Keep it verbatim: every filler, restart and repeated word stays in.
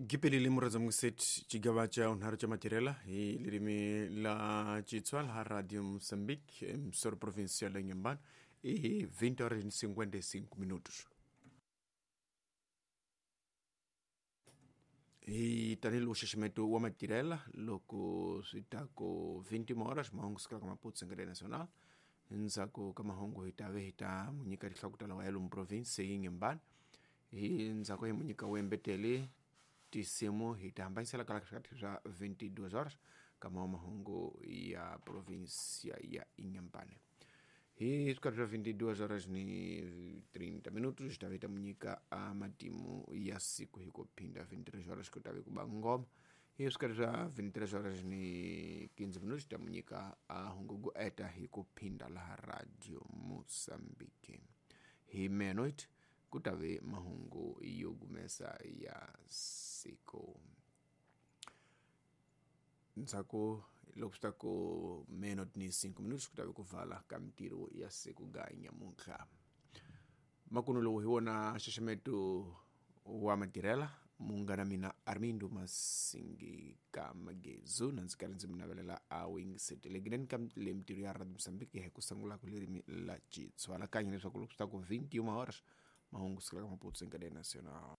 Gipelile murazamukiseti xigava xa unharhu xa matirhela hi ririmi la Xitsonga ha Radio Mozambique, emissora provincial ya Inhambane, e vinte horas e cinquenta e cinco minutos. Hi tanihiloko nxaxameto wa matirhela loko swi ta ku vinte horas mahungu sukela ka Maputo Secretaria Nacional. Endzhaku ka mahungu hi ta ve hi ta mu nyika tinhloko ta lawa ya lomu province yi Inhambane. Hi ndzhaku hi mu nyika wembetele tinsimu hi ta hambanyisela kala swikati swa vinte e duas horas ka mawa mahungu ya provinsia ya Inhambane. Hi swikati swa vinte e duas horas ni trinta minutos hi ta ve hi ta mu nyika a matimu ya siku hi ku phinda vinte e três horas ku ta ve ku ba ngoma. Hi swikati swa vinte e três horas ni quinze minutos hi ta mu nyika a hungu ku eta hi ku phinda laha Radio Mozambique. Hi meia-noite ku ta ve mahungu yo gumesa ya siku. Ndzhaku loko swi ta ku meia-noite ni cinco minutos ku ta ve ku vala ka mintirho ya siku ga nyamuntlha. Makumu lowu hi wona nxaxameto wa matirhela. Munghana mina Armindo Masingi ka Magezu na ndzi karhi ndzi mi navelela a wingisetelekileni ka le mintirho ya Radio Mozambique hi ku sungula ku ririmi la Xitsonga kanye leswaku loko swi ta ku vinte e uma horas mahungu sukela ka Maputo Secretaria Nacional.